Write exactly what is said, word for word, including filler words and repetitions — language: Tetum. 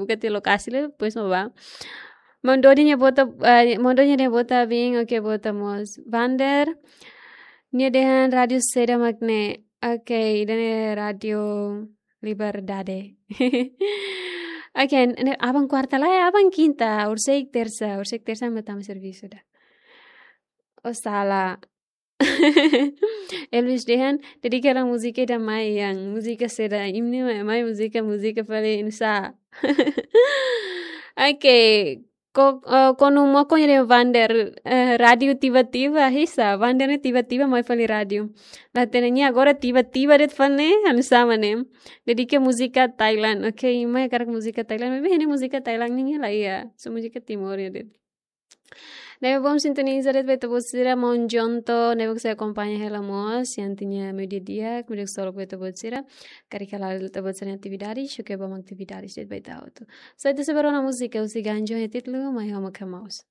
Buka tiha lokasi lai, depois mak bá. Maun Dodi nia bota, eh, Maun Dodi nia bota bin, oke, bota mós. Vander, nia dehan rádiu saida mak ne'e? Oke, ida-ne'e Rádiu Liberdade. Oke, ne'e aban kuarta lai, aban kinta, horiseik tersa, horiseik tersa mak tama servisu ida. Oh, sala. Elvis dehan, dedika hela múzika ida mai, yang múzika saida, imi-nia mai, mai múzika, múzika fali nusá. Oke, ko, eh, konu moko nia dehan Vander, eh, rádiu tiba-tiba, hisa, Vander ne'e tiba-tiba mai fali rádiu. La hatene nia agora tiba-tiba de'it fali ne'e, anu sama ne'e. Dedika múzika Thailand, oke, imi hakarak múzika Thailand, maibé ne'e múzika Thailand nian la iha, só múzika Timor nian de'it. Ne'ebé bom sintoniza de'it ba ita-boot sira, Maun Jonto, ne'ebé sei akompaña hela mós, yang tiña meiudia di'ak, meiudia ksolok ba ita-boot sira, karik hala'o ita-boot sira-nia atividade, só ke bom atividade de'it ba ita hotu. Só ita sei bá rona múzika, husi Ganjo nia títulu, Mai Ho Mak Ha'u Mós.